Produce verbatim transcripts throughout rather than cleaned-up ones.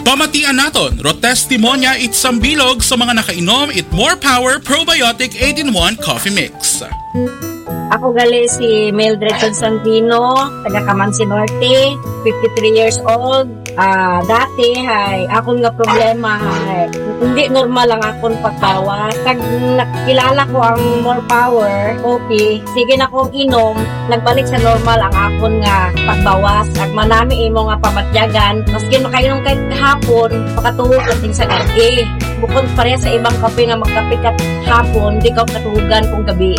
Pamatian naton, ro testimonya it sambilog sa mga nakainom it More Power Probiotic eight-in-one Coffee Mix. Ako gali si Mildred Constantino, taga Camansi Norte, fifty-three years old. Ah, dati hay akon nga problema hay hindi normal ang akon pagbawas. Kag nakilala ko ang More Power Coffee, sige na kong inom, nagbalik sa normal ang akon nga pagbawas. Ag manami imo nga pamatyagan, maski makainom kay hapon, makatuo ka din sa gabi. Bukod pareha sa ibang kape nga magkape ka hapon, di ka katugan kung gabi.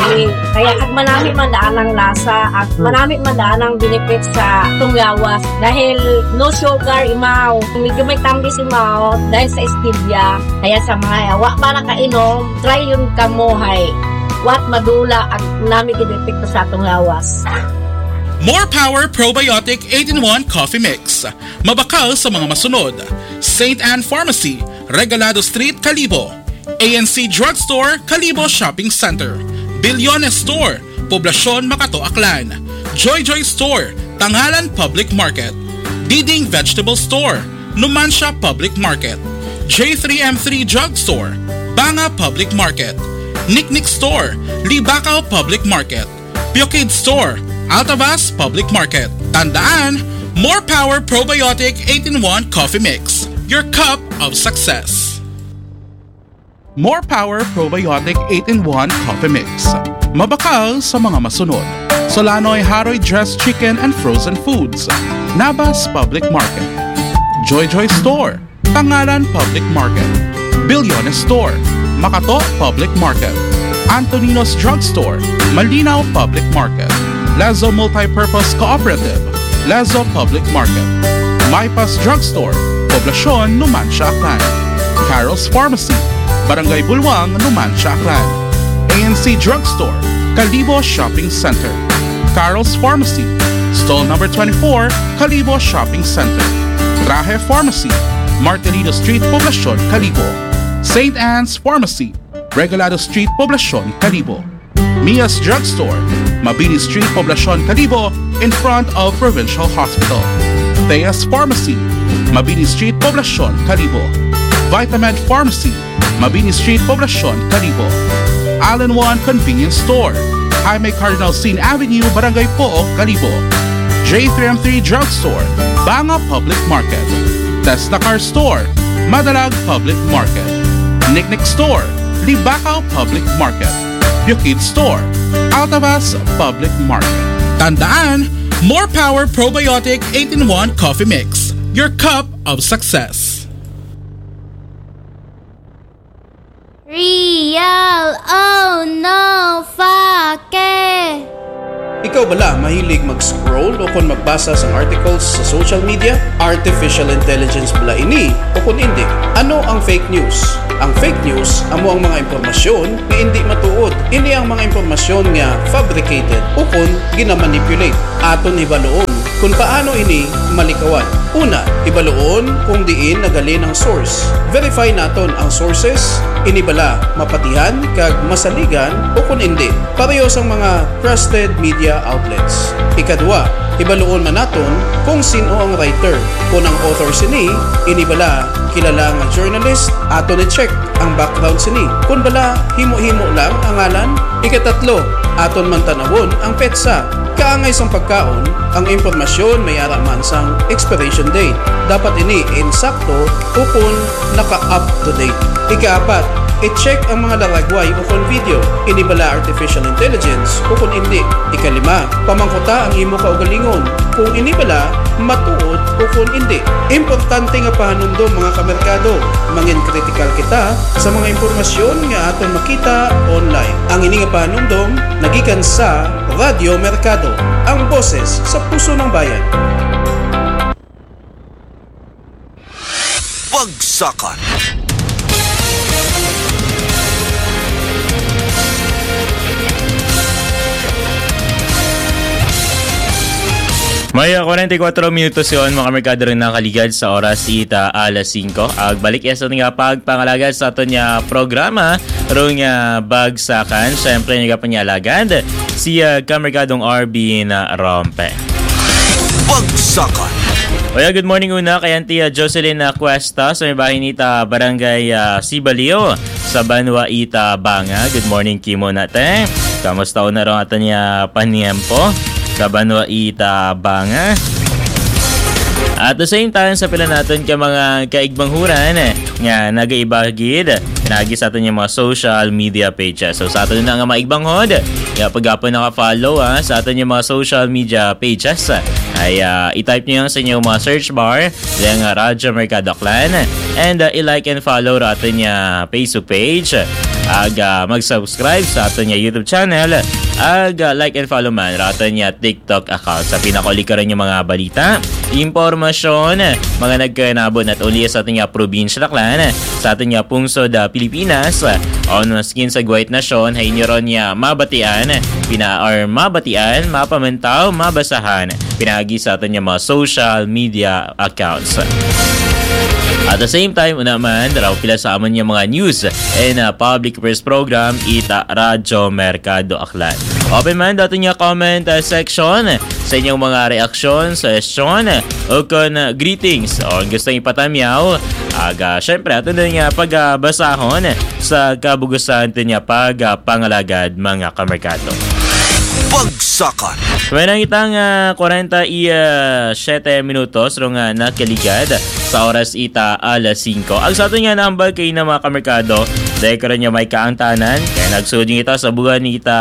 Kaya ag manami man daan ang lasa, ag manami man daan ang benefits sa atong lawas. Dahil no sugar, imaw. Medyo may tambis imaw dahil sa stevia. Kaya sa mga wa pa nakainom, try yun kamo hay. Wat madula ang nami gid epekto sa atong lawas. More Power Probiotic eight-in-one Coffee Mix. Mabakal sa mga masunod: Saint Anne Pharmacy, Regalado Street, Kalibo. A N C Drugstore, Kalibo Shopping Center. Bilyones Store, Poblacion, Makato, Aklan. Joy Joy Store, Tangalan Public Market. Diding Vegetable Store, Numancia Public Market. J three M three Drugstore, Banga Public Market. Niknik Store, Libacao Public Market. Pure Kid Store, Altavas Public Market. Tandaan, More Power Probiotic eight-in-one Coffee Mix, your cup of success. More Power Probiotic eight-in-one Coffee Mix. Mabakal sa mga masunod: Solanoy Haroy Dressed Chicken and Frozen Foods, Nabas Public Market. Joy Joy Store, Tangalan Public Market. Bilyones Store, Makato Public Market. Antonino's Drugstore, Malinaw Public Market. Lazo Multipurpose Cooperative, Lazo Public Market. Maipas Drugstore, Poblacion, Numancia, Aklan. Carol's Pharmacy, Barangay Bulwang, Numancia, Aklan. A N C Drugstore, Kalibo Shopping Center. Carol's Pharmacy, Stall Number twenty-four, Kalibo Shopping Center. Trahe Pharmacy, Martelino Street, Poblacion, Kalibo. Saint Anne's Pharmacy, Regalado Street, Poblacion, Kalibo. Mia's Drugstore, Mabini Street, Poblacion, Kalibo, in front of Provincial Hospital. Thea's Pharmacy, Mabini Street, Poblacion, Kalibo. Vitamed Pharmacy, Mabini Street, Poblacion, Kalibo. All-in-One Convenience Store, Jaime Cardinal Sin Avenue, Barangay Pook, Kalibo. J three M three Drugstore, Banga Public Market. Tesla Car Store, Madalag Public Market. Niknik Store, Libacao Public Market. Bukid Store, Altavas Public Market. Tandaan, More Power Probiotic eight-in-one Coffee Mix, your cup of success. Real o no fake? Ikaw bala mahilig mag-scroll o kon magbasa sang articles sa social media? Artificial intelligence bala ini o kon indi? Ano ang fake news? Ang fake news amo ang mga impormasyon nga indi matuod. Ini ang mga impormasyon nga fabricated o kon ginamanipulate. Aton hibaluon kon paano ini malikawan. Una, hibaluon kung diin nagalin ang source. Verify naton ang sources, ini bala mapatihan kag masaligan o kon indi, pareho sang mga trusted media outlets. Ikadua, hibaluon man naton kung sin-o ang writer. Kon ang author sini, ini bala kilala nga journalist, aton i-check ang background sini. Kon bala himo-himo lang ang ngalan. Ikatatlo, aton man tan-awon ang petsa. Kaangay sang pagkaon, ang impormasyon may ara man sang expiration date. Dapat ini insakto ukon naka-up to date. Ikaapat, i-check ang mga laragway ukon video. Ini bala artificial intelligence ukon indi? Ikalima, pamangkuta ang imo kaugalingon kung ini bala matuod ukon indi. Importante nga pahanumdom, mga kamerkado. Mangin kritikal kita sa mga impormasyon nga aton makita online. Ang ini nga pahanumdom nagikan sa Radyo Merkado, ang boses sa puso ng bayan. Bagsakan. May, ah, kwarenta y kuwatro minutos yon, mga kamerkado, rin nakaligad sa oras ita alas singko. Agbalik iya sa aton nga pagpangalagad sa aton nga programa, rong, ah, Bagsakan. Siyempre, nagapanyalagad si, ah, kamerkadong Arvin, ah, Rompe. Bagsakan. Oya, good morning una kay Auntie, ah, Jocelyn, ah, Cuesta sa may bahin ita Barangay, ah, Sibaliw sa Banwa ita Banga. Good morning, Kimo, nate. Kamusta una ron ato niya paniempo sa Banwa ita Banga? At the same time, sa pila naton ka mga kaigmanghuran, eh, nga nagaibagid, nagi sa aton yung mga social media pages. So, sa aton na nga mga igbanghod, ya, pagapon naka-follow, ah, sa aton yung mga social media pages, ay, ah, i-type niyo sa inyong mga search bar, yung, ah, Radyo Mercado Aklan, and, ah, i-like and follow ra aton niya Facebook page, ag, ah, mag-subscribe sa aton niya YouTube channel, ag, ah, like and follow man ra aton niya TikTok account. Sa pinakauli karon yung mga balita, impormasyon, mga nagkanabo not only sa aton niya probinsya Aklan, sa aton niya pungsod, ah, Pilipinas, o maskin sa Guwait Nasyon, hay inyo ron niya mabatian, pina-, or mabatian, mapamantaw, mabasahan, pinagi sa aton niya mga social media accounts. At the same time, una man, raw pila sa amon niya mga news and, ah, public press program, ita Radyo Mercado Aklan. Open man dato niya comment, ah, section sa inyong mga reaksyon, suggestion, o kon, ah, greetings o gusto ipatamyaw. Aga, syempre, ato na nga pagabasahon sa kabugusan ato niya pag, ah, pangalagad, mga kamerkado. Bagsakan. May nangitang, ah, kwarenta y siete minutos rong, ah, nakaligad sa oras ita alas singko. Ang sa ato nga nambal kay na, mga kamerkado, dahil karon nga may kaangtanan, kaya nagsulod yung ita sa buwan ni ita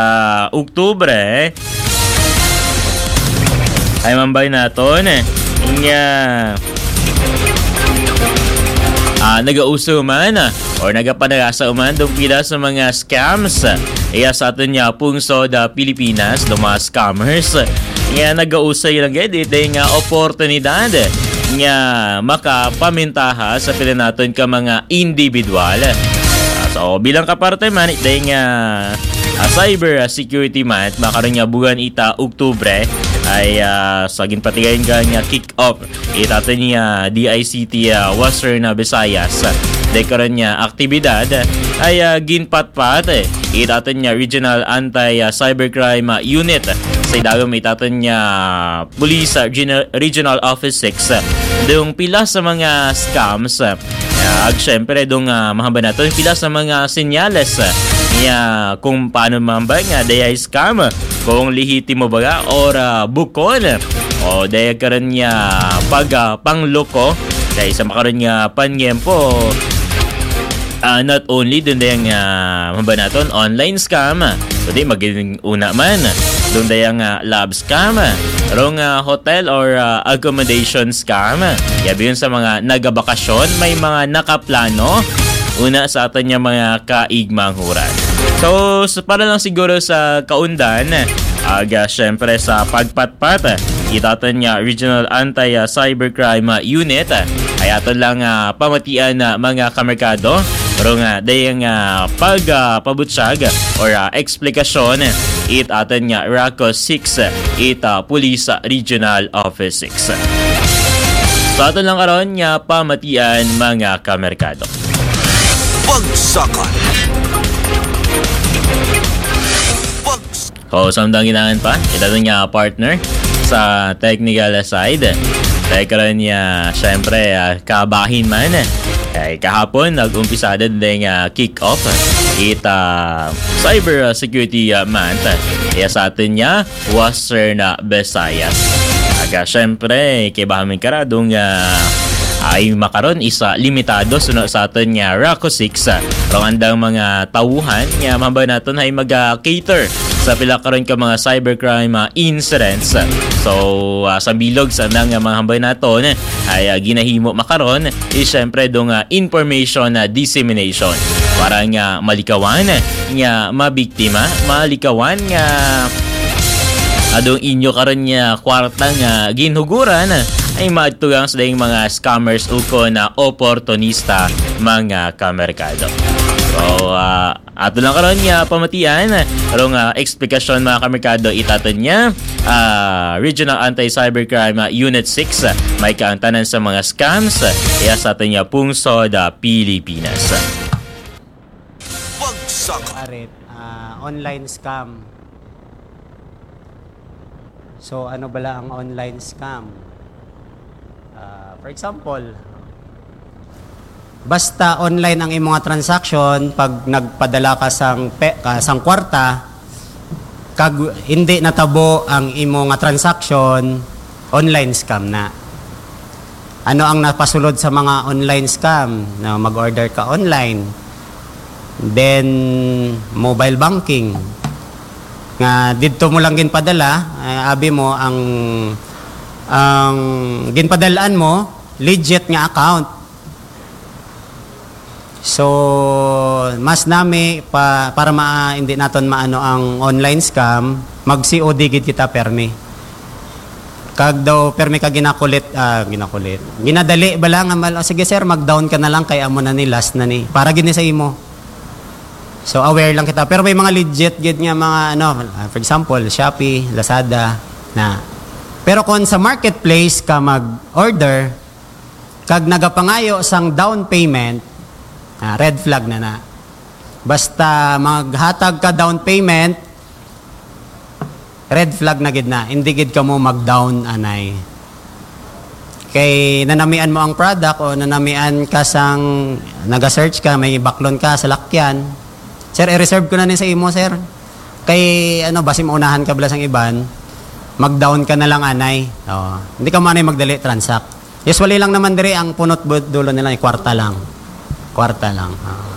Oktubre. Ay, mambay naton, eh. Nga, ah, nagauso man, ah, or nagapanagasa man dong pila sa mga scams, ah, iya sa aton nga pungsod, ah, Pilipinas, do mga scammers, nga nagausay lang gid ito nga oportunidad nga makapamintaha sa pila naton ka mga individual. Ah, so, bilang kaparte man, ito nga, ah, cyber, ah, security month, makaroon nga buwan ita Oktubre, ay, ah, sa ginpatigayon ka nga kick-off itato niya D I C T, ah, Western, ah, Visayas. Dahil karon niya aktibidad ay, ah, ginpatpat, eh, itato niya Regional Anti, ah, Cybercrime, ah, Unit sa idagom itato niya Police, ah, Gina-, Regional Office six. Dung pila sa mga scams, ah, ag syempre dung, ah, mahamba nato pila sa mga senyales, ah, niya kung paano mahamba nga day scam, kung lehitimo ba nga or, ah, bukon, o daya karon nga pag, ah, pangloko kay sa makaron nga panyempo, ah, not only dun daya nga mabanaton online scam, kundi maging una man dun daya nga lab scam, rong, ah, hotel or, ah, accommodation scam. Yabi yun sa mga nagabakasyon, may mga nakaplano una sa aton nga mga kaigmanghuran. So, s-, para lang siguro sa kaundan, aga, syempre, sa pagpatpat, itaton nga Regional Anti, ah, Cybercrime, ah, Unit, ah, ay aton lang, ah, pamatian na mga kamerkado, pero nga dayang, ah, pag, ah, pabutyag or, ah, eksplikasyon, it aton nga RACO six, it, ah, Police, ah, Regional Office six. Sa aton lang karon nga pamatian, mga kamerkado. Bagsakan. Bags- O, samtang ginangan pa, kita dun nga partner sa technical side. Kay karon niya, syempre, ah, kabahin man. Kay kahapon, nag-umpisa din ding, ah, kick-off. It, ah, cyber, ah, security, ah, month. Kaya sa atin niya, Western, ah, Visayas. Aga, syempre, kay bahamin karadong, ah, ay makaron isa limitado suno sa aton nga RACO six, ah, rong andang mga tawuhan nga mabay naton ay mag, ah, cater sa pila karon ka mga cybercrime, ah, incidents. So, ah, sa bilog sa andang nga mga hambay naton ay, ah, ginahimo makaron is syempre dong, ah, information na dissemination para nga malikawan nga mabiktima, malikawan nga adong inyo karon nga kwarta nga ginhuguran ay maadto lang sa dayang mga scammers ukon na oportunista, mga kamerkado. So, ah, ato lang karon nga pamatian, pero nga eksplikasyon, mga kamerkado, itaton niya, ah, Regional Anti-Cybercrime, ah, Unit six, ah, may kaangtanan sa mga scams, ah, iya sa aton nga pungsod, ah, Pilipinas. Bagsak. Arit, ah, online scam. So, ano bala ang online scam? Ah, For example, basta online ang imo nga transaction, pag nagpadala ka sang pe-, ka sang kwarta, kag hindi natabo ang imo nga transaction, online scam na. Ano ang napasulod sa mga online scam? No, mag-order ka online, then mobile banking, nga didto mo lang ginpadala, eh, abi mo ang, ang ginpadal-an mo, legit nga account. So, mas nami pa, para ma-, hindi naton maano ang online scam, mag-C O D gid kita permi. Kag daw permi ka ginakulit, ah, ginakulit. Ginadali ba lang nga mal-, "Oh, sige sir, mag-down ka na lang kay amo na ni, last na ni." Para gid ni sa imo. So, aware lang kita. Pero may mga legit gid nga mga, ano, ah, for example, Shopee, Lazada, na. Pero kung sa marketplace ka mag-order, kag nagapangayo sang down payment, ah, red flag na na. Basta maghatag ka down payment, red flag na gid na. Hindi gid kamo mag-down anay. Kay nanamian mo ang product o nanamian ka sang, naga-search ka, may baklon ka sa lakyan. "Sir, i-reserve ko na ni sa imo, sir." Kay, ano, basi maunahan ka bala sang iban, mag-down ka na lang anay. Oo. Hindi ka mo anay magdali transact. Usually lang naman diri ang punot bu-, dulo nila, eh, kwarta lang. Kwarta lang. Oo.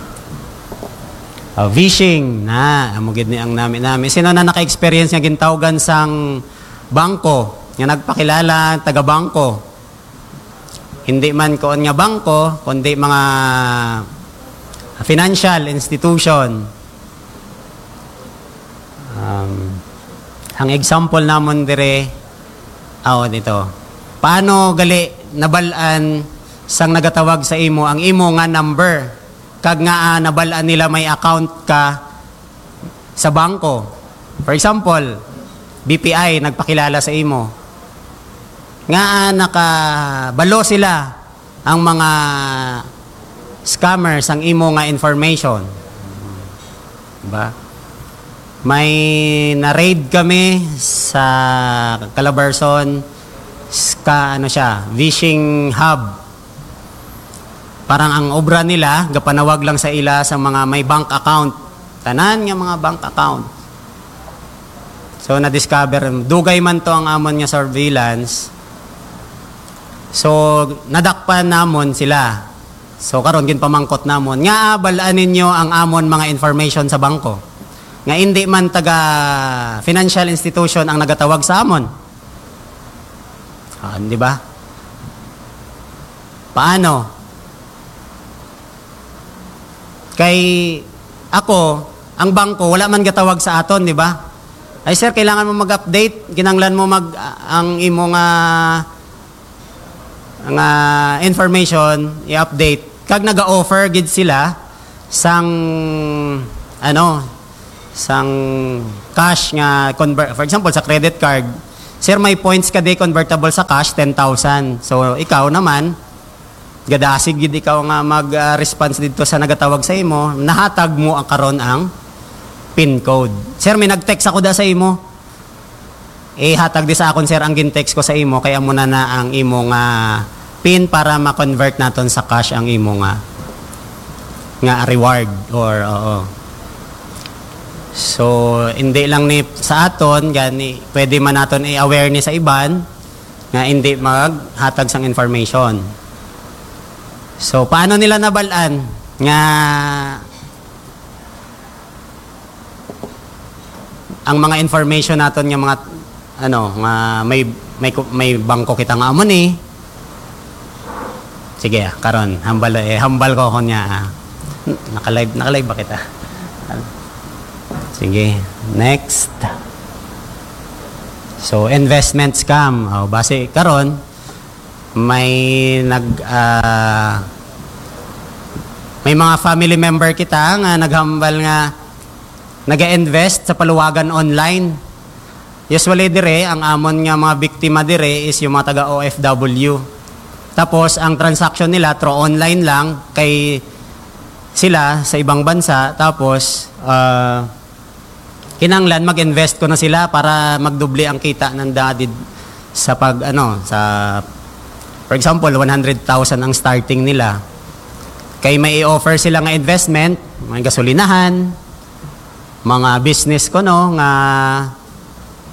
Ah, phishing na, amo gid ni ang nami-nami. Sino na naka-experience nga gintawgan sang bangko, nga nagpakilala taga bangko? Hindi man kuon nga bangko, kundi mga financial institution. Um, ang example namon dire, aw, dito. Paano gali nabal-an sang nagatawag sa imo ang imo nga number, kag nga, ah, nabal-an nila may account ka sa bangko? For example, B P I nagpakilala sa imo. Nga, ah, nakabalo sila ang mga scammers ang imo nga information. Diba? May na-raid kami sa Calabarzon, ska-, ano siya, phishing hub. Parang ang obra nila, gapanawag lang sa ila sa mga may bank account. Tanan nga mga bank account. So, na-discover, dugay man to ang amon nga surveillance. So, nadakpan namon sila. So, karon ginpamangkot namon, nga bal-an ninyo ang amon mga information sa bangko? Nga hindi man taga financial institution ang nagatawag sa amon. Ah, di ba? Paano? Kay ako, ang bangko, wala man gatawag sa aton, di ba? "Ay, sir, kailangan mo mag-update, kinahanglan mo mag-, ang imo nga, nga information, i-update." Kag naga-offer gid sila sang, ano, sang cash nga convert, for example, sa credit card, "Sir, may points ka di convertible sa cash, ten thousand." So, ikaw naman, gadasig gid ikaw nga mag, ah, response didto sa nagatawag sa imo, nahatag mo ang karon ang pin code. "Sir, may nag-text ako da sa imo." Ihatag di sa akon, sir, ang gin-text ko sa imo, kay amo na na ang imo nga pin para ma-convert naton sa cash ang imo nga, nga reward or, oo. So, hindi lang ni sa aton, gani, pwede man naton i-aware ni sa iban nga hindi maghatag sang information. So, paano nila nabal-an nga ang mga information naton nga mga, ano, nga may, may ku-, may bangko kita nga amo ni? Sige, ah, karon, hambal, eh, hambal ko ko niya, ah. Naka-live, naka-live ba kita? Sige, next. So, investment scam. Oh, base karon, may nag, ah, may mga family member kita nga naghambal nga naga-invest sa paluwagan online. Usually dire, ang amon nga mga biktima dire is yung mga taga O F W. Tapos, ang transaction nila through online lang, kay sila sa ibang bansa. Tapos, ah, kinahanglan mag-invest ko na sila para magdubli ang kita nanda did-, sa pag, ano, sa For example, one hundred thousand ang starting nila. Kay may i-offer sila nga investment, mga gasolinahan, mga business ko, no, nga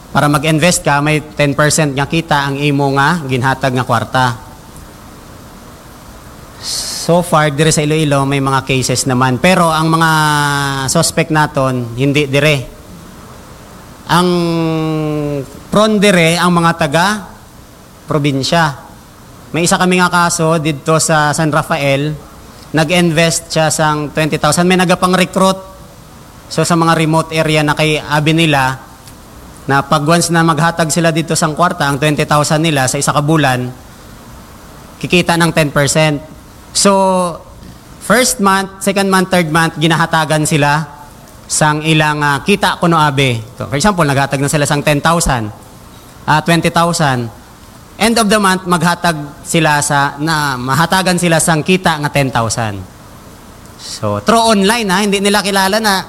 para mag-invest ka, may ten percent nga kita ang imo nga ginhatag nga kwarta. So far, diri sa Iloilo, may mga cases naman. Pero ang mga suspect naton, hindi dire. Ang prone dire, ang mga taga probinsya. May isa kami nga kaso didto sa San Rafael, nag-invest siya sang twenty thousand, may nagapang-recruit. So, sa mga remote area na kay abi nila, na pag once na maghatag sila dito sang kwarta, ang twenty thousand nila sa isa ka bulan, kikita ng ten percent. So, first month, second month, third month, ginahatagan sila sang ilang, ah, kita kuno abi. So, for example, naghatag na sila sang ten thousand, ah, twenty thousand. End of the month, maghatag sila sa, na, mahatagan sila sang kita nga ten thousand. So, through online, ha, hindi nila kilala na.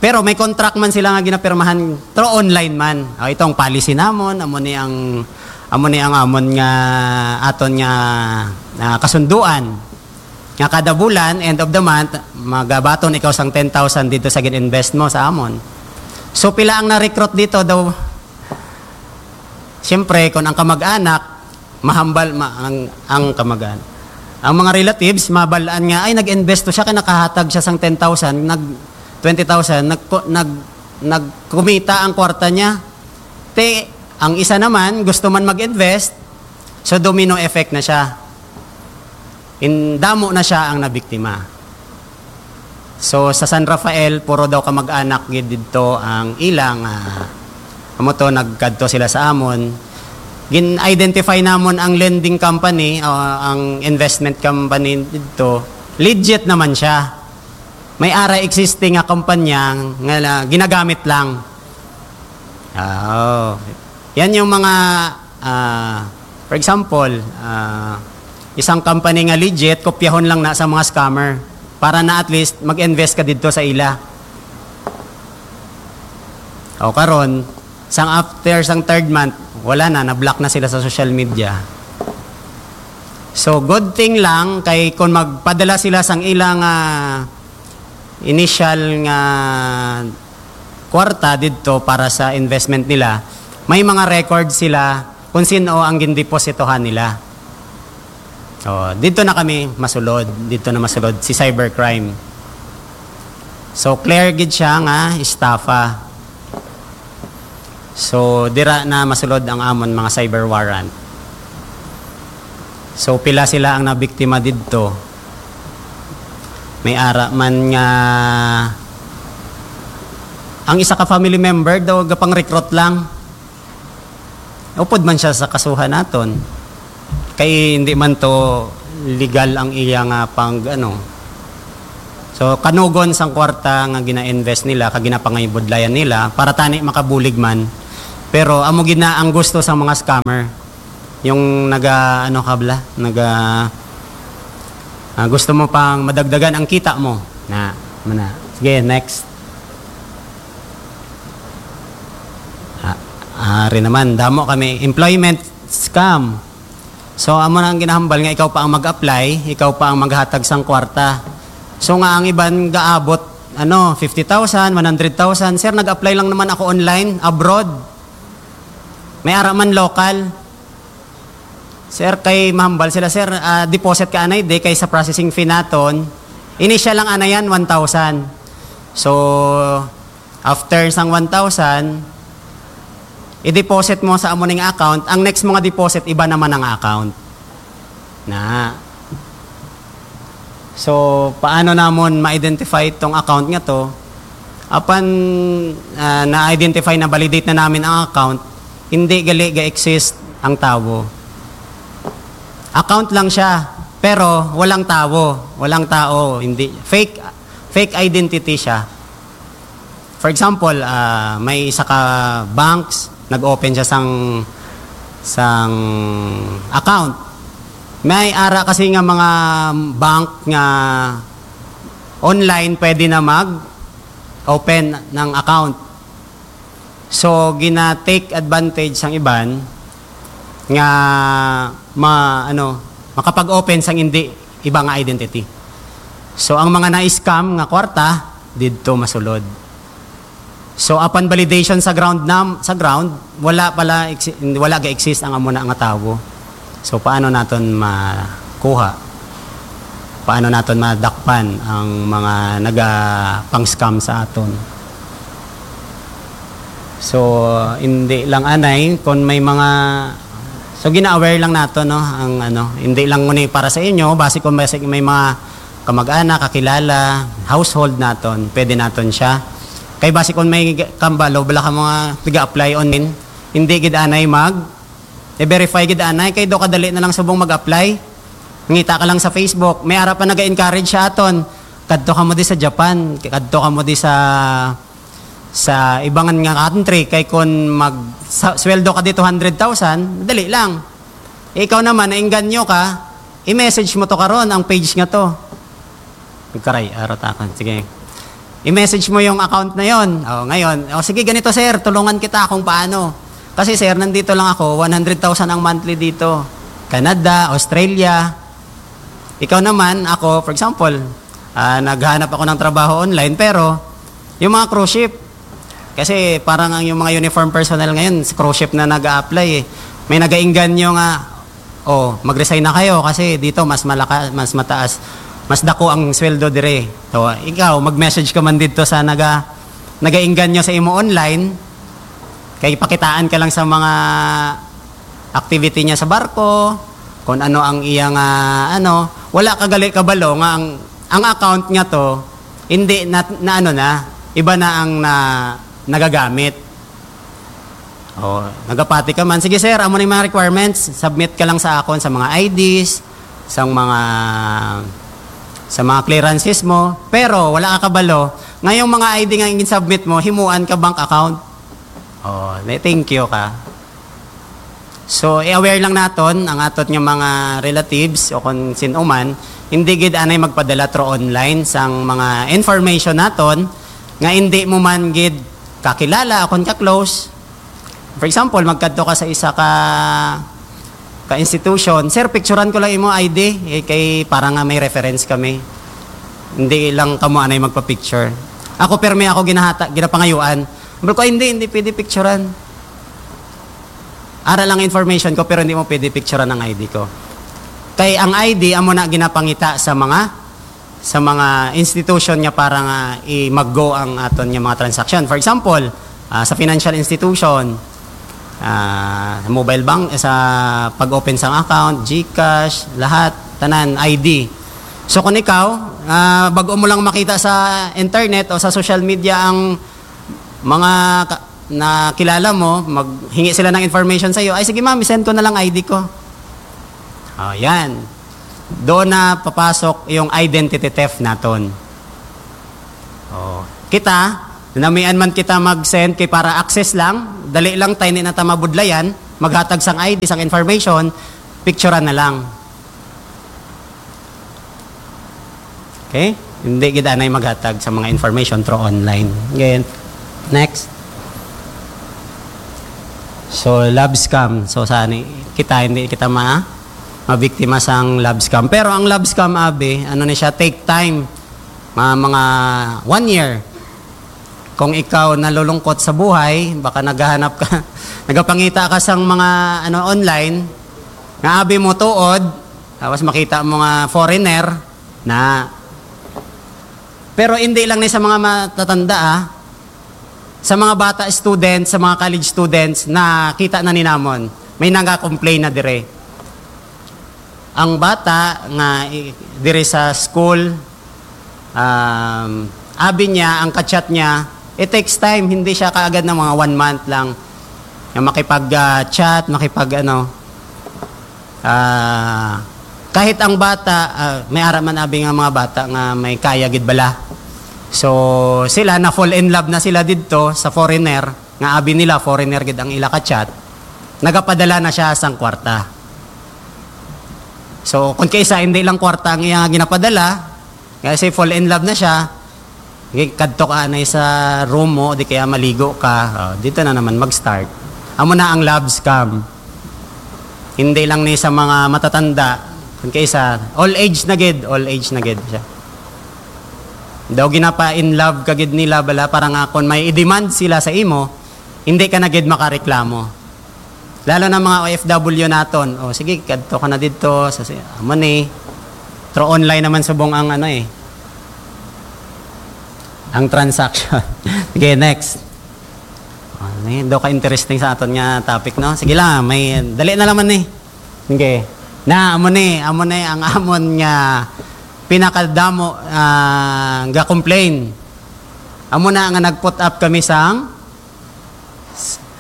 Pero may contract man sila nga ginapirmahan through online man. O, itong policy namon, amo ni ang, amo ni ang amon nga, aton nga, ah, kasunduan. Nga kada bulan, end of the month, magabaton ikaw sang ten thousand dito sa gin-invest mo sa amon. So, pila ang na-recruit dito daw? Siyempre, kung ang kamag-anak, mahambal, ma-, ang, ang kamag-anak. Ang mga relatives, mabalaan nga, "Ay, nag-invest to siya, kaya nakahatag siya sang ten thousand, nag, twenty thousand, nag, nag, nagkumita ang kwarta niya." Te, ang isa naman, gusto man mag-invest, so domino effect na siya. In, damo na siya ang nabiktima. So, sa San Rafael, puro daw kamag-anak gid didto ang ilang, ah, amo to, nagkadto sila sa amon. Gin-identify namon ang lending company, o ang investment company didto. Legit naman siya. May ara existing nga kumpanya nga la-, ginagamit lang. Ah, oh. Yan yung mga, ah, for example, ah, isang company nga legit, kopyahon lang na sa mga scammer para na at least mag-invest ka didto sa ila. O karon, sang after sang third month, wala na, na-block na sila sa social media. So, good thing lang kay kung magpadala sila sang ilang, ah, initial nga kwarta didto para sa investment nila, may mga record sila kung sino ang gindepositohan nila. Oh, dito na kami masulod, dito na masulod si cybercrime. So, clear gid siya nga estafa. So, dira na masulod ang amon mga cyber warrant. So, pila sila ang nabiktima didto? May ara man nga ang isa ka family member daw gapang-recruit lang. Upod man siya sa kasuhan naton. Kay hindi man to legal ang iya nga pang, ano. So, kanugon sang kwarta nga gina-invest nila, kag ginapangayubudlayan nila, para tani makabulig man. Pero amo gid na ang gusto sang mga scammer. Yung naga, ano ka bala? Naga, ah, gusto mo pang madagdagan ang kita mo. Na, mana. Sige, next. Ah, ari naman, damo kami. Employment scam. So, amo na ang ginahambal nga ikaw pa ang mag-apply, ikaw pa ang maghatag sang kwarta. So, nga ang iban gaabot, ano, fifty thousand, one hundred thousand. "Sir, nag-apply lang naman ako online, abroad." May ara man local. "Sir, kay mahambal sila, sir, ah, deposit ka anay, di kay sa processing fee naton. Initial lang anay yan, one thousand." So, after sang one thousand, i-deposit mo sa amo ning account, ang next mo nga deposit, iba naman ang account. Na. So, paano namon ma-identify tong account nga to? Apan, ah, na-identify, na-validate na namin ang account, hindi gali ga-exist ang tawo. Account lang siya, pero walang tawo, walang tao, hindi, fake, fake identity siya. For example, ah, may isa ka banks, nag-open siya sang, sang account. May ara kasi nga mga bank nga online pwede na mag-open ng account. So, gina-take advantage sang iban nga ma-, ano, makapag-open sang indi iba nga identity. So, ang mga na-scam nga kwarta, didto masulod. So, upon validation sa ground nam-, sa ground, wala pala exi-, wala ga-exist ang amo na nga tawo. So, paano naton makuha? Paano naton madakpan ang mga naga-pang-scam sa aton? So, hindi lang anay, kung may mga, so, gina-aware lang nato, no, ang ano, hindi lang ni para sa inyo, basi kung basi may mga kamag-anak, kakilala, household naton, pwede naton siya. Kay basi kung may kambalo, bala ka mga nag-apply online, hindi gid anay mag, i-verify gid anay, kay do kadali na lang subong mag-apply. Ngita ka lang sa Facebook, may ara pa naga-encourage sa aton. Kadto ka mo di sa Japan, kadto ka mo di sa sa ibangan nga country, kay kun mag sa, sweldo ka di two hundred thousand, dali lang. Ikaw naman, nainganyo ka, i-message mo to karon ang page nga to. Nagkaray, arot akon. Sige. I-message mo yung account na yon. Oh, ngayon, oh, sige, ganito, sir, tulungan kita kung paano. Kasi, sir, nandito lang ako, one hundred thousand ang monthly dito. Canada, Australia. Ikaw naman, ako, for example, ah, naghanap ako ng trabaho online, pero yung mga cruise ship, kasi parang ang yung mga uniform personnel ngayon, sa cruise ship na nag-a-apply eh. May nagainganyo nga, "Oh, mag-resign na kayo kasi dito mas malaka-, mas mataas, mas dako ang sweldo dire." So, ikaw, mag-message ka man dito sa naga-, nagainganyo sa imo online, kay pakitaan ka lang sa mga activity niya sa barko, kung ano ang iya nga, ano, wala ka gali kabalo nga ang, ang account nga to, hindi na, na ano na, iba na ang na, nagagamit. Oh, nagapati ka man. Sige, sir, amo ni mga requirements. Submit ka lang sa akon sa mga I Ds, sa mga, sa mga clearances mo. Pero wala ka kabalo nga yung mga I D nga gin-submit mo, himuan ka bank account. Oh, na-, thank you ka. So, i-aware lang naton ang aton nga mga relatives o kung sin-o man, hindi gid anay magpadala through online sang mga information naton nga hindi mo man gid kakilala o kung ka-close. For example, magkadto ka sa isa ka, ka institution, "Sir, picturean ko lang imo I D, eh, kay para nga may reference kami." Hindi lang kamo anay magpa-picture. Ako, permi ako ginahata-, ginapangayuan. Sabi ko, "Ay, hindi, hindi pwede picturean. Ara lang information ko, pero hindi mo pwede picturean ang I D ko." Kay ang I D, amo na ginapangita sa mga, sa mga institution nga para nga i-mag-go ang aton nga mga transaction. For example, ah, sa financial institution, ah, sa mobile bank, sa pag-open sang account, GCash, lahat, tanan, I D. So, kung ikaw, ah, bago mo lang makita sa internet o sa social media ang mga ka-, na kilala mo, maghingi sila ng information sa'yo, "Ay, sige ma'am, send ko na lang I D ko." Oh, yan. Doon na papasok yung identity theft naton. Oh, kita, namian man kita mag-send kay para access lang, dali lang, tay, hindi na ta mabudlayan, maghatag sang I D, sang information, picturean na lang. Okay? Hindi gid anay maghatag sa mga information through online. Again, next. So, love scam. So, sa ni kita, hindi kita ma mabiktima sang love scam. Pero ang love scam, abi, ano ni siya, take time. Mga, mga one year. Kung ikaw nalulungkot sa buhay, baka naghahanap ka, nagapangita ka sang mga, ano, online, nga abi mo tuod, tapos makita mo nga foreigner, na. Pero hindi lang ni sa mga matatanda, ah. Sa mga bata students, sa mga college students, nakita na ni namon. May nanga-complain na dire. Ang bata nga i-, dire sa school, um, abi niya, ang ka-chat niya, it takes time, hindi siya kaagad ng mga one month lang. Nga makipag, ah, chat, makipag ano, ah, kahit ang bata, ah, may ara man abi nga mga bata nga may kaya gid bala. So, sila na fall in love na sila didto sa foreigner, nga abi nila foreigner gid ang ila ka-chat, nagapadala na siya sang kwarta. So, kung kaisa hindi lang kwarta ang iya nga ginapadala, kasi fall in love na siya, gi-, kadto ka anay sa room mo, di kaya maligo ka, oh, dito na naman mag-start. Amo na ang love scam. Hindi lang ni sa mga matatanda, kun kay sa all age na gid, all age na gid siya. Daw ginapa in love ka gid nila bala para nga kung may i-demand sila sa imo, hindi ka na gid makareklamo. Lalo na mga O F W naton. O sige, kadto ka na didto sa si amo ni through online naman subong ang ano eh. Ang transaction. Sige, next. Ano eh, do ka interesting sa aton nga topic, no? Sige lang, may dali na naman ni. Sige. Na amo ni, amo ni ang amon nga pinakadamo ah, ga complain. Amo na nga nag-put up kami sang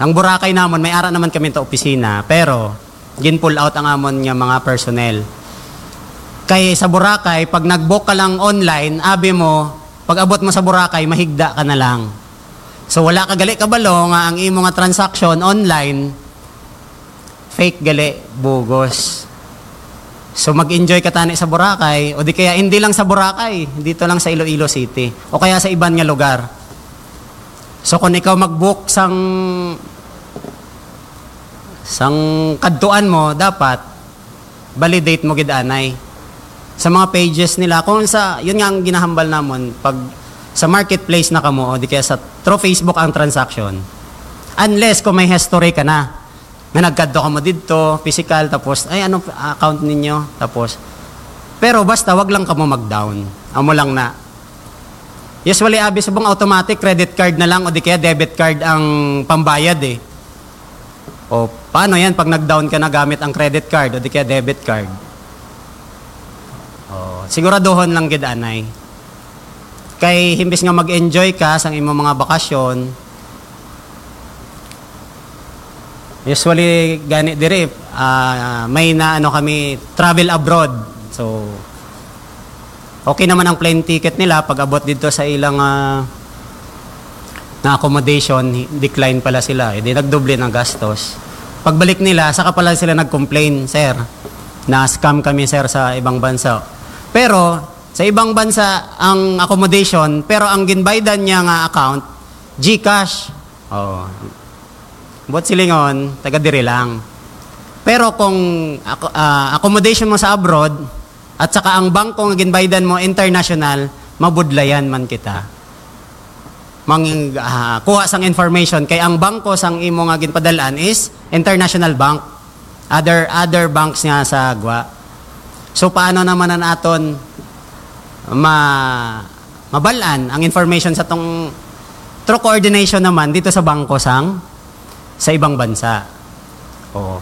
ang Boracay namon, may ara naman kami ta opisina, pero gin-pull out ang amon nga mga personnel. Kay sa Boracay, pag nag-book ka lang online, abi mo, pag abot mo sa Boracay, mahigda ka na lang. So wala ka gali kabalo nga ang imo nga transaction online, fake gali, bugos. So mag-enjoy ka tani sa Boracay, o di kaya hindi lang sa Boracay, dito lang sa Iloilo City, o kaya sa iban nga lugar. So kung ikaw mag-book sang sang kadtuan mo, dapat validate mo gid anay sa mga pages nila. Kung sa, yun nga ang ginahambal namon, pag sa marketplace na kamo o di kaya sa through Facebook ang transaction, unless kung may history ka na, nga nagkadto ka mo didto, physical, tapos, "Ay, ano account ninyo?" Tapos, pero basta, wag lang kamo mag-down. Amo lang na. Usually, abi subong automatic, credit card na lang o di kaya debit card ang pambayad eh. O, paano yan pag nag-down ka na gamit ang credit card o di kaya debit card? O, siguraduhon lang gid anay. Kay himbis nga mag-enjoy ka sang imong mga bakasyon, usually gani diri, ah, may na ano kami, travel abroad. So, okay naman ang plane ticket nila pag abot dito sa ilang ah, na accommodation, hi- decline pala sila. Hindi nagdoble ng gastos. Pagbalik nila, saka pala sila nag-complain, "Sir, na-scam kami, sir, sa ibang bansa." Pero sa ibang bansa ang accommodation, pero ang ginbaydan niya nga account, GCash. Oo. Buot silingon, taga diri lang. Pero kung ako- ah, accommodation mo sa abroad at saka ang bangko nga ginbaydan mo international, mabudlayan man kita. Mang ah, kuha sang information kay ang bangko sang imo nga ginpadalaan is international bank. Other other banks nga sa gwa. So paano naman ang aton ma mabal-an ang information sa tong through coordination naman dito sa bangko sang sa ibang bansa. Oo.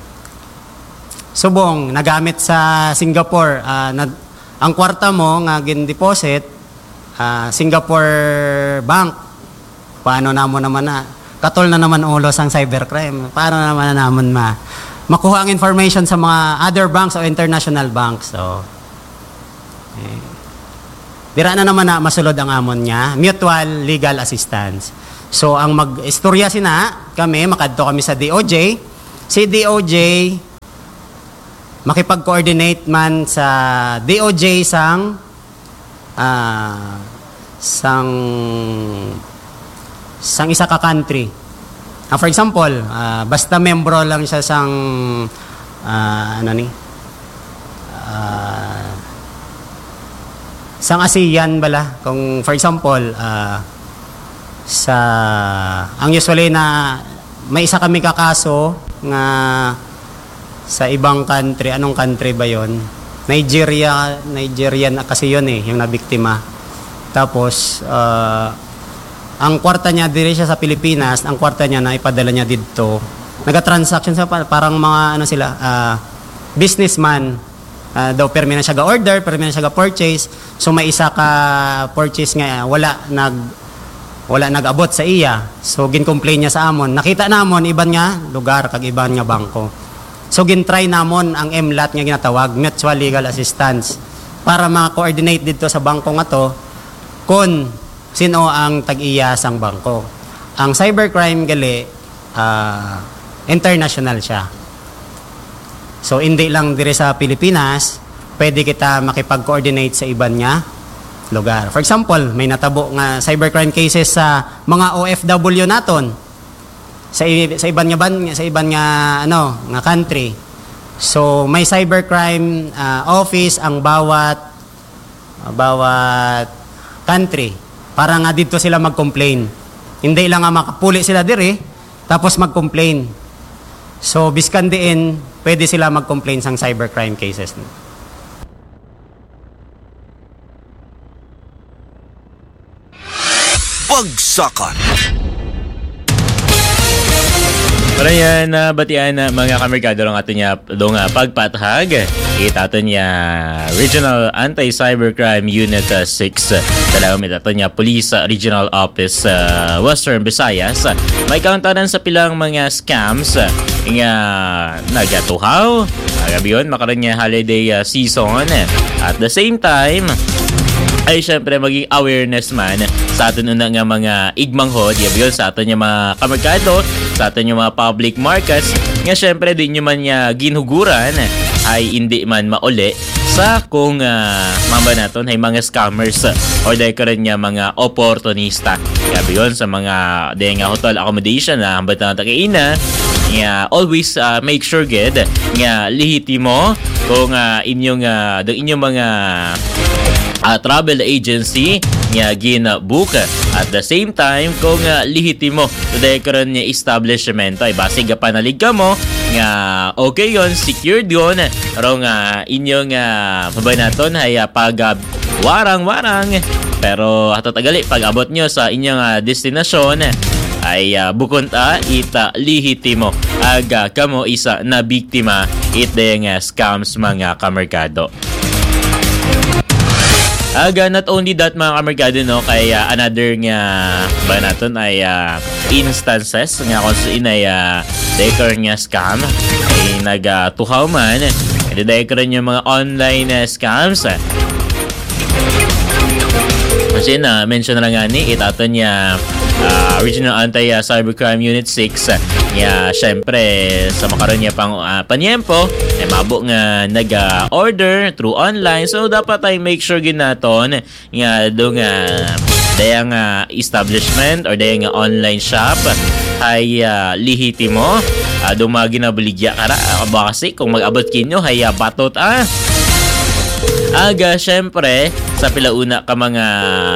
Subong nagamit sa Singapore, ah, nag- ang kwarta mo nga gin-deposit, ah, Singapore bank. Paano namo naman na katol na naman ulo sang cybercrime? Paano naman na namon ma makuha ang information sa mga other banks o international banks? So, eh, dira na naman na masulod ang amon nga mutual legal assistance. So ang mag-istorya sina kami, makadto kami sa D O J. Si D O J makipag-coordinate man sa D O J sang ah, sang sang isa ka country. Ah, for example, ah, basta membro lang siya sang ah, ano ni? Ah, sang ASEAN bala. Kung for example, ah, sa ang usually na may isa kami ka kaso nga sa ibang country. Anong country ba yon? Nigeria, Nigerian kasi yun eh, yung nabiktima. Tapos, ah, ang kwarta niya diri siya sa Pilipinas, ang kwarta niya na ipadala niya didto. Naga-transaction sa pa- parang mga ano sila, ah, businessman. Ah, daw permi na siya ga-order, permi na siya ga-purchase. So may isa ka purchase nga wala nag wala nag-abot sa iya. So gin-complain niya sa amon. Nakita namon iban nga lugar kag iban nga bangko. So gin-try namon ang M lat nga ginatawag, mutual legal assistance, para ma-coordinate didto sa bangko nga to kun sino ang tag-iya sang bangko. Ang cybercrime gali, ah, international siya. So hindi lang diri sa Pilipinas, pwede kita makipag-coordinate sa iban nga lugar. For example, may natabo nga cybercrime cases sa mga O F W naton sa i- sa iban nga ban sa iban nga ano nga country. So, may cybercrime, ah, office ang bawat, bawat country para nga dito sila mag-complain. Hindi lang nga makapuli sila diri, tapos mag-complain. So, biskan diin, pwede sila mag-complain sang cybercrime cases. Bagsakan. Para yan, uh, batian na mga kamerkado ang ato niya dong uh, pagpathag. Itato niya Regional Anti-Cybercrime Unit uh, six. Salamat itato niya Police uh, Regional Office uh, Western Visayas. May kauntanan sa pilang mga scams uh, nga nagatuhaw. Agabi yun, makaroon niya holiday uh, season. At the same time, ay syempre maging awareness man sa aton una nga mga igmanghod, yabi yun sa aton nga mga kamerkado, sa aton nga mga public markets, nga syempre di nyo man niya ginhuguran ay hindi man mauli sa kung uh, mamba naton ay mga scammers or dahil karon nga mga oportunista. Yabi yun sa mga dahil nga hotel accommodation na hambatan natin kaina, nga always uh, make sure gid nga lihitimo kung uh, inyong uh, inyong mga uh, travel agency nga gina-book. At the same time, kung uh, lihitimo today karon nga establishment ay basig panalig ka mo nga okay yon, secured yon, pero nga inyong uh, mabay naton ay uh, pag uh, warang-warang. Pero ato tagali pag abot nyo sa inyong uh, destinasyon ay uh, bukon ta ita lihitimo aga kamo isa na biktima it nga uh, scams mga kamerkado. Aga, not only that mga kamerkado, no, kay uh, another nga ba naton ay uh, instances nga kung sa inay uh, daycare nga scam ay nagatuhaw uh, man. Hindi daycare yung mga online uh, scams. Kasi na mention na nga ni itato niya uh, Regional Anti-Cybercrime Unit six uh, niya syempre sa makaroon niya pang uh, panyempo ay mabo nga nag-order through online. So dapat ay make sure ginaton nga do nga daya nga establishment or daya nga online shop ay uh, lihitimo uh, do mga ginabaligya kara uh, basi kung mag-abot kinyo ay uh, batot ah aga syempre sa pilauna ka mga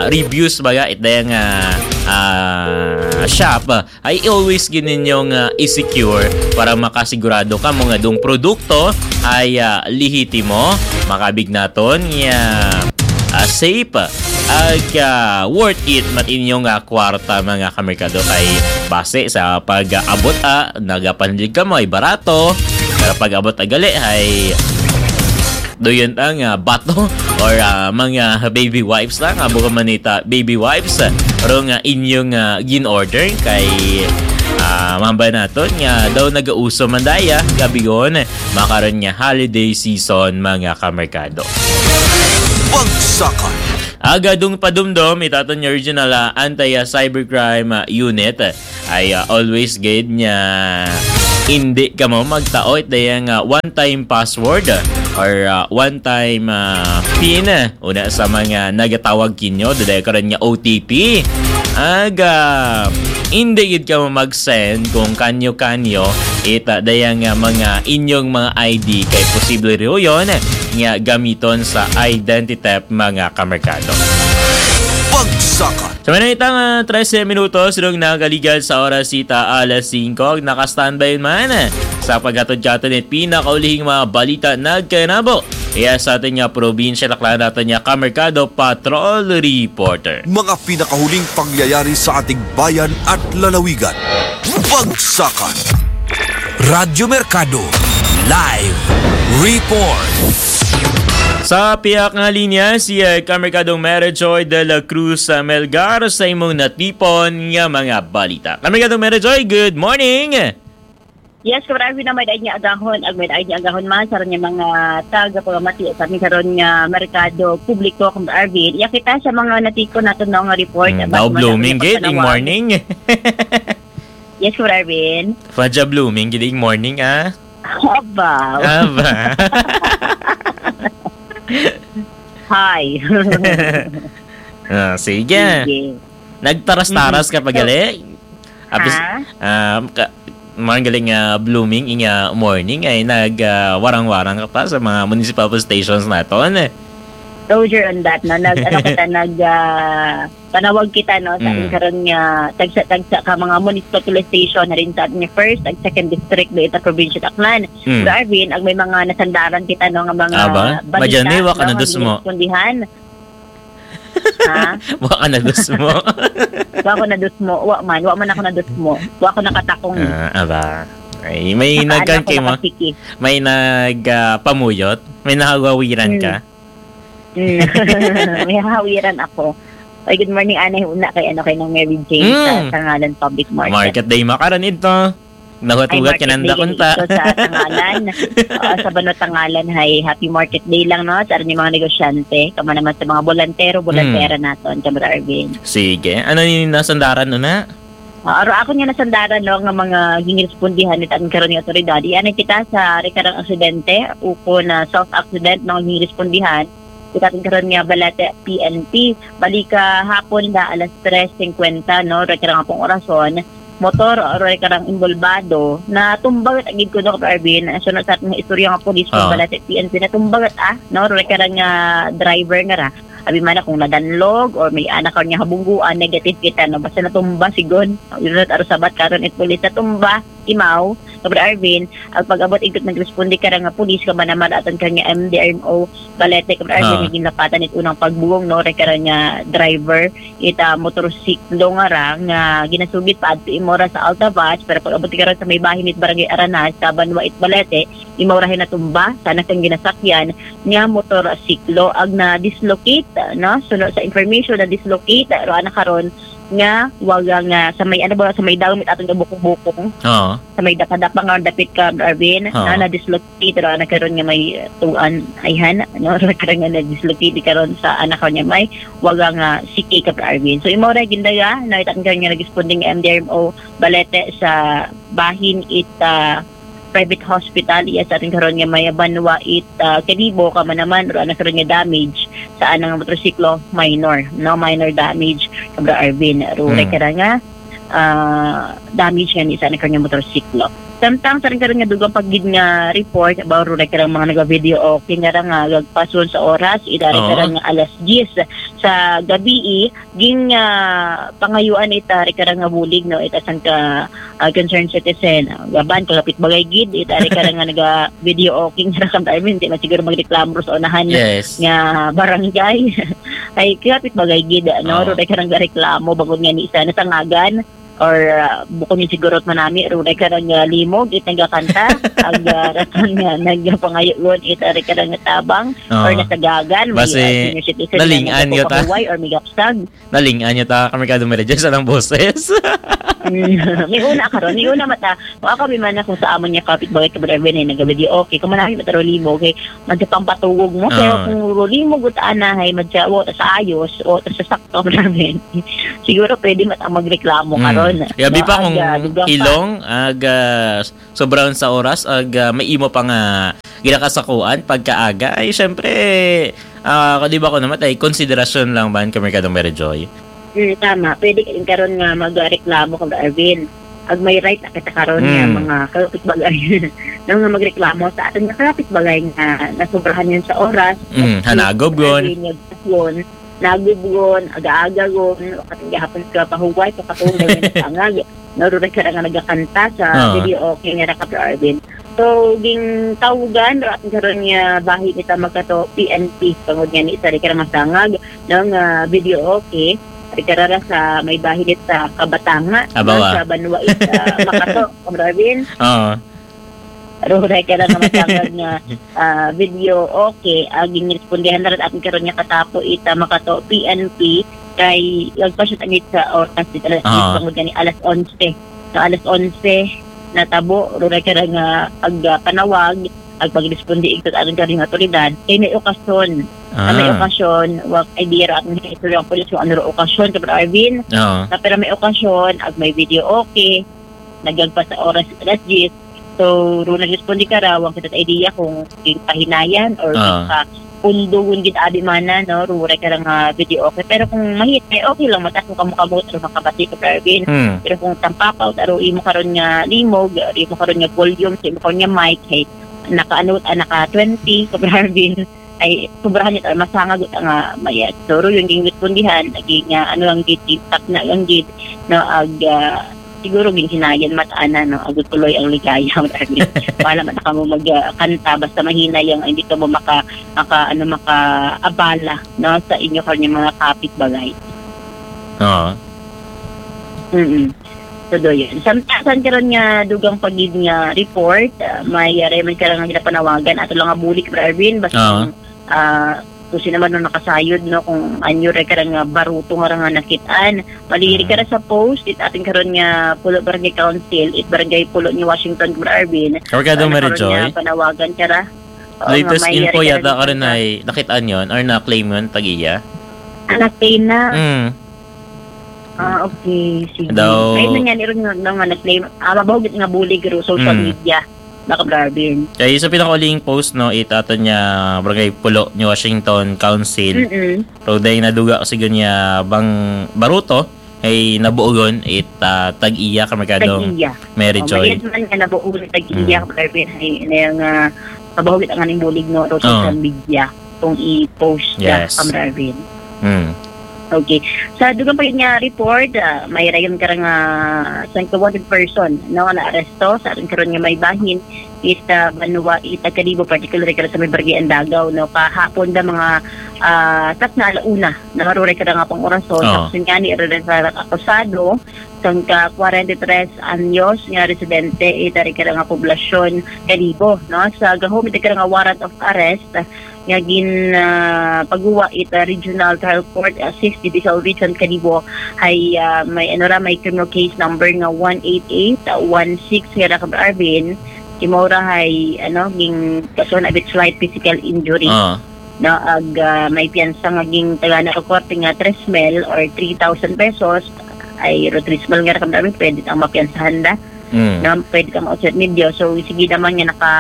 reviews baga it daya nga uh, shop ay always gid ninyo nga i-secure para makasigurado ka mo nga dong produkto ay uh, lihitimo, makabig naton nga uh, safe ag uh, worth it mat inyong uh, kwarta mga kamerkado kay base sa pag-abot uh, nagapanlig ka mo ay barato pero pag-abot agali ay do yun ta nga bato or uh, mga baby wipes lang abo ka manita baby wipes pero nga inyong uh, gin-order kay uh, mamba naton nga daw nagauso man daya gabion makaron nga holiday season mga kamerkado. Bagsakan. Agadong padumdom itaton nga original uh, anti-cybercrime uh, unit ay uh, always gid nga hindi ka mo magtaot daya nga one-time password or uh, one-time uh, pin una sa mga nagatawag kinyo dudaya karon nga O T P aga hindi gid ka mo mag-send kung kanyo-kanyo ita daya nga mga inyong mga I D kay posible riho yon nga gamiton sa identity theft mga kamerkado. Bagsakan. Sa manitang uh, trese minutos rong nagaligad sa oras sita alas singko, nakastandby man sa paghatod kato ni pinakaulihing mga balita nagkanabo. Iya sa atin nga probinsya, taklan natin nga kamerkado patrol reporter. Mga pinakahuling pangyayari sa ating bayan at lalawigan. Bagsakan. Radyo Merkado. Live Report. Sa piyak nga linya, si uh, Kamerkadong Mary Joy de la Cruz uh, Melgar sa imong natipon nga mga balita. Kamerkadong Mary Joy, good morning! Yes, Kuya Arvin, na may daig niya agahon, ag may daig niya agahon man sa niya mga taga pamati sa amin karon nga merkado publiko, Kuya Arvin. Iya kita sa mga natipon nato no nga report. Mm, daw blooming gid in morning. Yes, Kuya Arvin. Faja blooming gid in morning ah. Aba. Aba. Hi. Ah, sige. Sige. Nagtaras-taras ka pa gali. Apis, Ha? um, ka, Mga galing nga blooming inya morning ay nag, ah, warang-warang ka pa sa mga municipal police stations naton. Roger on that, no? Nag, ano kita, nag, ah, panawag kita, no, sa Mm. karon nga tagsa-tagsa ka mga municipal police station na rin sa ating first ag second district do ita probinsya Tacnan. Mm. Pero Arvin, ag may mga nasandaran kita, no, nga mga Aba, balita, madyan, eh, wa ka no, na nga dusmo. Ginispondihan. Ha? Wa ka na dusmo. Wa ako na dusmo. Wa man. Wa man ako na dusmo. Wa ako nakatakong. Ah, aba. Ay, may Nakaano nagkan ako, kay mo? Nakasiki. May nag, ah, pamuyot? May nahawawiran Hmm. ka? Hmm. May hahawiran ako. Ay, good morning, anay, una kay, ano, kay Nang Mary Jane sa Hmm. Tangalan Public Market. Market day makaron ito. Ay, Nahugat-hugat ka market nanda day kung gani ta. ito sa Tangalan. Oo, sa Banwa Tangalan, hay, happy market day lang, no, sa ating mga negosyante. Kamo naman sa mga bolantero, bolantera Hmm. naton, Kamar Arvin. Sige. Ano ni nasandaran, no, na? Ah, aro ako nga nasandaran, no, nga mga ginrespondihan ni tan karon nga otoridad. Ianay kita sa rekarang aksidente, uko na self-accident, no, ginrespondihan. Kita tan karon nga Balete P N P. Bali ka hapon na alas tres cincuenta, no, rekarang apong orason. Motor, o rekarang imbolbado, natumba gid ko, no, Arvin. Sunod sa ating istorya nga pulis, Ah. Balete P N P, natumba gid, ah, no, rekarang, ah, driver nga ra. Abi man na kung nadanlog or may anak ka niya habungguan, negative kita, no? Basta natumba, sigon. Yun na, aro sabat karon it pulis, natumba, imaw, Kamar Arvin, ang pag-abot igkot nagresponde ka ra nga pulis, kamo naman atan ka nga M D R M O, Balete, Kamar Arvin, Ah. nga ginlapatan it unang pagbuong, no? Rekarang nga driver, ita motorsiklo nga ra, nga ginasugid pa adto imo ra sa Altavas, pero pag-abot ka ra sa may bahin it Barangay Aranas, sa Banwa it Balete, imo ra hinatumba, sa anak kang ginasakyan, nga motorsiklo ag na-dislocate, no? Suno sa information, na-dislocate, pero ana karon nga waga nga sa may, ano ba, sa may dawit aton nga bukong-bukong. Oo. Sa may dapadapa nga dapit ka, Arvin, Oo. na na-dislocate, pero ana karon nga may, uh, tuan, ayhan, no? Karon nga na-dislocate karon sa anak karon nga may waga nga siki ka, Arvin. So, imo ra gindaga, na itan karon nga nag-responding M D R M O Balete sa bahin it, ah, private hospital, iya sa ating karon nga may Banwa it, ah, Kalibo, kamo naman, ro ana karon nga damage sa anang motorsiklo, minor, no, minor damage, Kabra Arvin, ro Mm. ra karon nga, ah, damage nga ni sa anang karon nga motorsiklo. Samtang sa ating karon nga dugang pa gid nga report, ba, ro ra karon mga naga-video, okay, nga ra nga gagpason sa oras, ida ra Oo. karon nga alas diyes sa gabi, ging, ah, pangayuan ita, ri karon nga bulig, no, ita sang ka, ah, concerned citizen. Ah, gaban, kagapit bagay gid, ita, ri karon nga naga-video, okay, nga ra kam, I mean, di man siguro magreklamo sa unahan Yes. nga barangay. Ay, kagapit bagay gid, no, Oo. ro, ri karon nga reklamo, bangod nga ni isa nasangagan, or, ah, bukon yung siguro manami, ro, ri karon nga limog, it nagakanta, ag, ah, rason nga nagpangayo, ita, ri karon nga tabang, Oo. or nasagagan, may, Basi, ah, senior citizen nga naling-an yun ta. nagpapahuway or may gapsag. Naling-an niya ta, kami ka dumiretso sa lang boses. Mm. May una karon, may una mata. Wa kami man na kung sa amon niya kapit bagay ka, brother Ben, eh, nagabadi, okay. Kung manami mata ro limo, okay. Madya pang patugog mo, pero Ah. kung ro limo, gut ana, hay, madya, wa ta sa ayos, o ta sa sakto, brother Ben. Siguro pwede mata magreklamo Mm. karon. Yabi No, pa kung aga, dugang pa. ilong, aga, sobrang sa oras, ag, ah, may imo pa nga ginakasakuan pagkaaga, ay, syempre, ah, di ba ko naman, ay, konsiderasyon lang ba, Kamerkadong Mary Joy? Mm, tama. Pwede ka rin karon nga magreklamo kag Arvin. Ag may right na kita karon nga Mm. mga kapitbagay. Nang nga magreklamo sa aton nga kapitbagay nga nasobrahan yun sa oras. Mm, hanagob yun. Arvin, nga yun. Nagubgon, aga-aga gon, ating gahapon ka pahuway, pakatunggal nga nagangag. Naruray ka nga nagakanta sa Ah. video, okay, nga ra ka, Arvin. So, ging tawgan, ra-, karon nga bahin ita magkato P N P, tungod nga ni isa rin ka masangag, no, nga video, okay. Rin ka ra sa may bahin ita Kabatanga, Abawa. no, sa Banwa ita Makato, Arvin. Oo. Ruray ka lang nga matangag nga, ah, video, okay. Ah, ginrespondihan na rin atin karon nga katapo ita makato P N P kay nagpasya tanit sa oras dito alas Ah. diyes, bangod gani alas onse. So, alas onse natabo, ruray ka lang nga ag, ah, panawag, ag pagresponde igto atin karon nga otoridad kay may okasyon. Ah, may Ah. okasyon, wa idea ra atin sa istorya ang pulis kung ano ra okasyon, Kapatid Arvin. Oo. Ah, pero may okasyon, ag may video, okay. Nagagpas sa oras, alas diyes. So, ro nagresponde ka ra, wa kita sa idea kung ginpahinayan or Ah. ginpa-, Pundugon gid abi mana, no, ruray ka lang nga video okay. Pero kung mahit, eh, okay lang, mataas mo kamot-kamot, aro makabati ka, Brother Alvin. Hmm. Pero kung tampakaw, aro imo karon nga limog, aro imo karon nga volume, sa imo karon nga mic, hey, naka, ano, ah, naka twenty ka, Brother Alvin, ay, sobrahan niya, masangag ta nga mayat. So, aro yung gingwit pundihan, lagi nga, ano lang gid, gintap na lang gid, no, ag, ah, siguro ginhinayan mat-ana, no, agud tuloy ang ligaya, Brother Alvin. Wala man na kamo mag, ah, kanta, basta mahinay ang, hindi ka mo maka, maka, ano, makaabala, no, sa inyo karon nga mga kapitbalay. Oo. Mm. So, do yun. Samtasan karon nga dugang pa gid nga report, ah, may, ah, may karon nga ginapanawagan, ato lang nga bulig, Brother Alvin, basta Oo. kung, ah, kung sino man ang nakasayod, no, kung anyo ra karon nga baruto nga ra nga nakit-an, maliri ka ra sa post, it atin karon nga Pulo Barangay Council, it Barangay Pulo ni Washington, Brother Alvin. Kabarkada Ano Mary karon Joy? nga panawagan ka ra? Oo, nga Latest may info yari ka yata ra karon nga ay nakit-an yon or na-claim yon, tag-iya? Ah, na-claim na. Mm. Ah, okay. Sige. Daw May nangyari ron nga, nga nag-claim. Ah, mabaho gid nga bulig ro social Mm. media. Baka Brother Alvin. Kay sa pinakauling post, no, it aton nga Barangay Pulo ni Washington Council. Mm-mm. Pero dahil naduga kasi gud niya bang baruto, ay nabuogon it, ah, tag-iya, kamarkadong Tag-iya. Mary Oh, Joy. Maliit man nga nabuogon it tag-iya, Mm. Brother Alvin, ay, na yung, ah, mabaho gid ang aning bulig, no, ro Oo. social media kung i-post na, Yes. Brother Alvin. Mm. Okay. Sa dugang pa gid nga report, ah, may rayon ka nga sangka wanted person, no, na aresto sa aton karon nga may bahin, it, ah, banwa, it, ah, Kalibo, particular ka sa may Barangay Andagaw, no, kahapon da mga, ah, tas na alauna, no, ruray ka nga pang orason, Oo. sa kusun nga ni, ruray sa akusado, sangka kwarenta y tres anyos nga residente, it, ari ka nga poblasyon, Kalibo, no, sa gahom, it, ka nga warrant of arrest, nga gin, ah, paguwa it, ah, Regional Trial Court, ah, Sixth Judicial Region Kalibo, hay, ah, may, ano ra, may criminal case number nga one eight eight one six nga ra, Brother Alvin, kay mao ra hay, ano, gin kaso na with slight physical injury. Ah. No, ag, ah, may piyansa nga gin tagana ra korte nga tres mil or three thousand pesos, ay, ro tres mil nga ra, Brother Alvin, pwede ang mapiyansahan da. Mm. No, pwede ka ma-outset media. So, sige naman nga naka,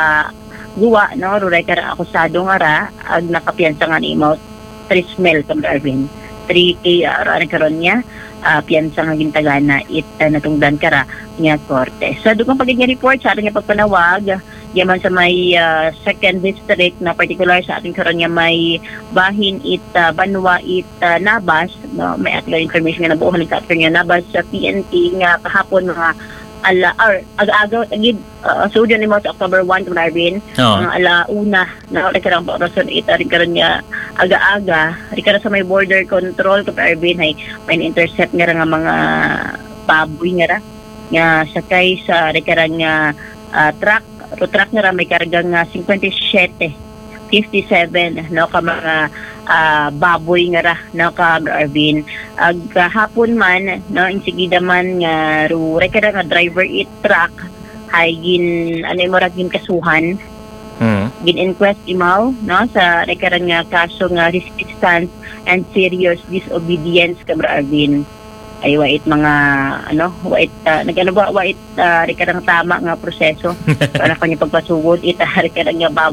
guwa, no, ruray ka ra akusado nga ra, ag nakapiyansa nga ni amount three mil, Brother Alvin. Three K, ah, ra, karon niya, ah, piyansa nga gintagana, it, ah, natungdan ka ra nga korte. Sa dugang pa gid nga report, sa aton nga pagpanawag, yaman sa may, ah, second district, na particular sa aton karon nga may bahin it, ah, banwa it, ah, Nabas, no, may aton information nga nabuo halin sa aton nga Nabas sa P N P nga kahapon mga ala, or aga-aga, gid, ah, so, dyan yung mga sa October one, Brother Alvin, Oo. mga ala una, na rin karang orason, it, rin karang nga aga-aga, rin karang sa may border control, Brother Alvin, ay may na-intercept nga ra nga mga baboy nga ra, nga sakay sa rin karang nga, ah, truck, ro truck nga ra may karga nga fifty-seven, fifty-seven, no, ka mga, ah, baboy nga ra, no, ka Brother Alvin. Ag kahapon man, no, insigida man nga ro, rin karang nga driver it truck, hay gin, ano, imo ra, gin kasuhan, Hmm. gin inquest imaw, no, sa rin karang nga kaso nga resistance and serious disobedience, ka Brother Alvin. Ay, wait, mga, ano, wait, ah, nag-, ano ba, wait, ah, rin karang tama nga proseso. Para kanya pagpasugod, ita, rin karang nga babo.